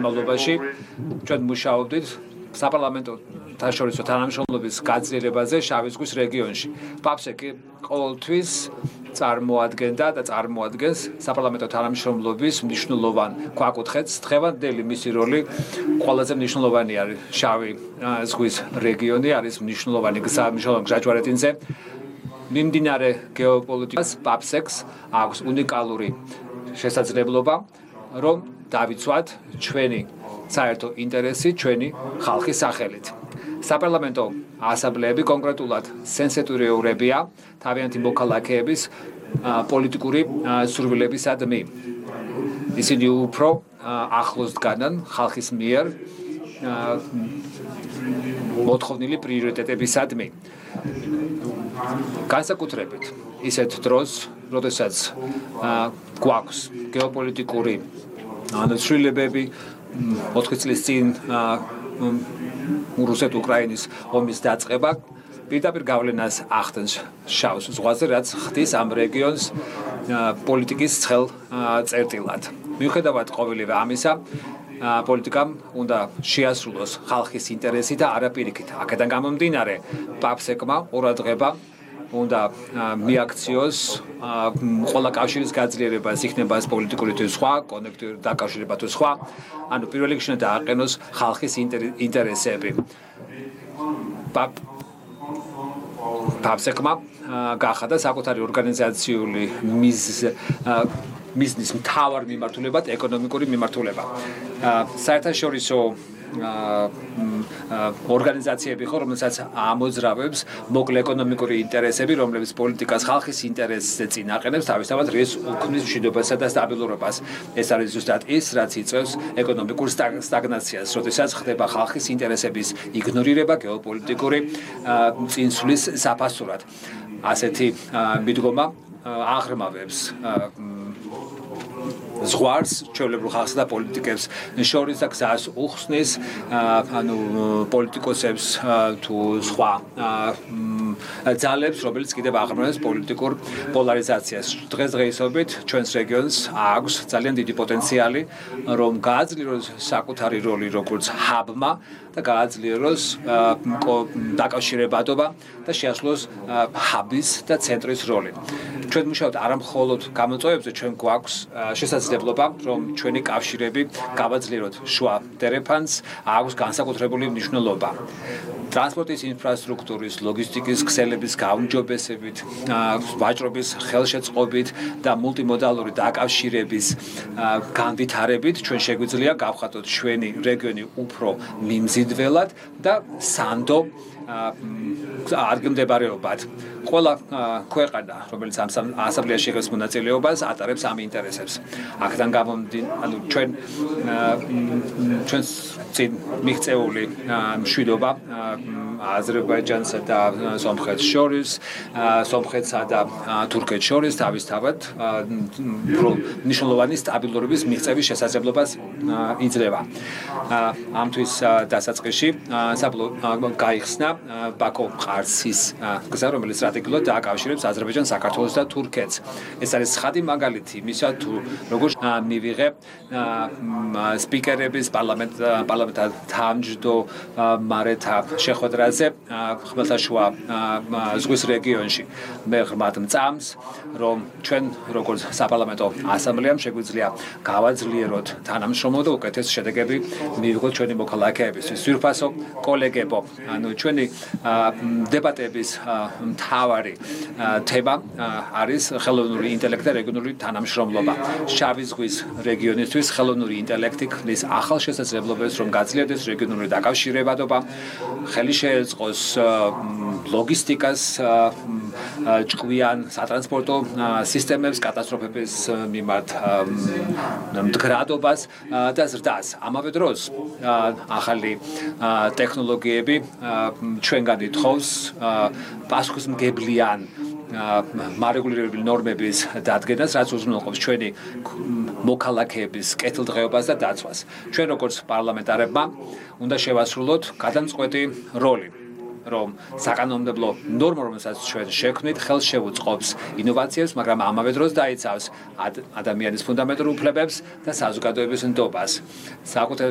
მავლობაში ჩვენ მუშაობდით საპარლამენტო თანაშორისო თანამშრომლობის გაძლიერებაზე შავი ზღვის რეგიონში. პაფსეკი ყოველთვის წარმოადგენდა და წარმოადგენს საპარლამენტო თანამშრომლობის მნიშვნელოვან ქვაკუთხედს. დღევანდელი მისი როლი ყველაზე მნიშვნელოვანი არის. შავი ზღვის რეგიონი არის მნიშვნელოვანი გზაჯვარედინზე. მიმდინარე გეოპოლიტიკას პაფსეკს აქვს უნიკალური შესაძლებლობა, რომ დავიცვათ ჩვენი საერთო ინტერესი ჩვენი ხალხის სახელით. საპარლამენტო ასამბლეები კონკრეტულად სენსიტიურებია თავიანთი მოქალაქეების პოლიტიკური სურვილებისადმი. ისინი უფრო ახლოს დგანან ხალხის მიერ მოთხოვნილი პრიორიტეტებისადმი. განსაკუთრებით ისეთ დროს, როდესაც გვაქვს გეოპოლიტიკური ცვლილებები 4 წლის წინ რუსეთ-უკრაინის ომის დაწყება პირდაპირ გავლენას ახდენს შავ ზღვაზე, რაც ხდის ამ რეგიონს პოლიტიკის ცხელ წერტილად. მიუხედავად ყოველივე ამისა, პოლიტიკამ უნდა შეასრულოს ხალხის ინტერესი და არა პირიქით. აქედან გამომდინარე, პაფსეკმა ყურადღება უნდა მიაქციოს ყველა კავშირის გაძლიერებას, იქნება ეს პოლიტიკური თუ სხვა, კონექტივი დაკავშირება თუ სხვა, ანუ პირველ რიგში უნდა დააყენოს ხალხის ინტერესები. პაფსეკმა გახადა საკუთარი ორგანიზაციული მიზნის მთავარ მიმართულებად ეკონომიკური მიმართულება. საერთაშორისო ორგანიზაციები ხო, რომელსაც ამოძრავებს მოკლე ეკონომიკური ინტერესები, რომლებიც პოლიტიკას ხალხის ინტერესზე წინაყენებს, თავისთავად ეს უქმნის მშვიდობასა და სტაბილურობას. ეს არის ზუსტად ის, რაც იწვევს ეკონომიკურ სტაგნაციას, როდესაც ხდება ხალხის ინტერესების იგნორირება გეოპოლიტიკური წინსვლის საფასურად. ასეთი მიდგომა აღრმავებს ზღვარს, ჩვეულებრივ ხალხსა და პოლიტიკებს შორის და გზას უხსნის, ანუ პოლიტიკოსებს თუ სხვა ძალებს, რომელიც კიდევ აღრმავებს პოლიტიკურ პოლარიზაციას. დღესდღეობით ჩვენს რეგიონს აქვს ძალიან დიდი პოტენციალი, რომ გააძლიეროს საკუთარი როლი როგორც ჰაბმა და გააძლიეროს დაკავშირებადობა და შეასრულოს ჰაბის და ცენტრის როლი. ჩვენ მუშაობთ არა მხოლოდ გამოწვევებზე, ჩვენ გვაქვს შესაძლებლობა, რომ ჩვენი კავშირები გავაძლიეროთ შუა დერეფანს, აქვს განსაკუთრებული მნიშვნელობა. ტრანსპორტის ინფრასტრუქტურის, ლოგისტიკის ქსელების გაუმჯობესებით, ვაჭრობის ხელშეწყობით და მულტიმოდალური დაკავშირების განვითარებით ჩვენ შეგვიძლია გავხატოთ ჩვენი რეგიონი უფრო მიმზიდველად და სანდო ადგილმდებარეობად. ყველა ქვეყანა, რომელიც ამ ასამბლეაში იღებს მონაწილეობას, ატარებს ამ ინტერესებს. აქედან გამომდინარე, ჩვენს წინ მიღწეული მშვიდობა აზერბაიჯანსა და სომხეთს შორის, სომხეთსა და თურქეთს შორის თავისთავად მნიშვნელოვანი სტაბილურობის მიღწევის შესაძლებლობას იძლევა. ამთვის დასაწყისში გაიხსნა ბაქო-ყარსის გზა, რომელიც სტრატეგიულად დააკავშირებს აზერბაიჯანს, საქართველოს და თურქეთს. ეს არის ცხადი მაგალითი იმისა, თუ როგორ მივიღებ სპიკერების პარლამენტთა თავმჯდომარეთა შეხვედრაზე ხმელთაშუა ზღვის რეგიონში. მე ღრმად მწამს, რომ ჩვენ როგორც საპარლამენტო ასამბლეამ შეგვიძლია გავაძლიეროთ თანამშრომლობა და უკეთეს შედეგები მივიღოთ ჩვენი მოქალაქეებისთვის. სვირფასო კოლეგებო, ანუ ჩვენი დებატების მთავარი თემა არის ხელოვნური ინტელექტი და რეგიონული თანამშრომლობა. შავი ზღვის რეგიონისთვის ხელოვნური ინტელექტი ქმნის ახალ შესაძლებლობებს, რომ გაძლიერდეს რეგიონული დაკავშირებადობა, ხელი შეეწყოს ლოგისტიკას, ჭკვიან სატრანსპორტო სისტემებს, კატასტროფების მიმართ მდგრადობას და ზრდას. ამავე დროს ახალი ტექნოლოგიები ჩვენგან ითხოვს პასუხისმგებლიან მარეგულირებული ნორმების დადგენას, რაც უზრუნველყოფს ჩვენი მოქალაქეების კეთილდღეობას და დაცვას. ჩვენ როგორც პარლამენტარებმა უნდა შევასრულოთ გადამწყვეტი როლი. რომ საკანონმდებლო ნორმა, რომელსაც ჩვენ შექმნით, ხელს შეუწყობს ინოვაციებს, მაგრამ ამავე დროს დაიცავს ადამიანის ფუნდამენტურ უფლებებს და საზოგადოების ნდობას. საკუთარ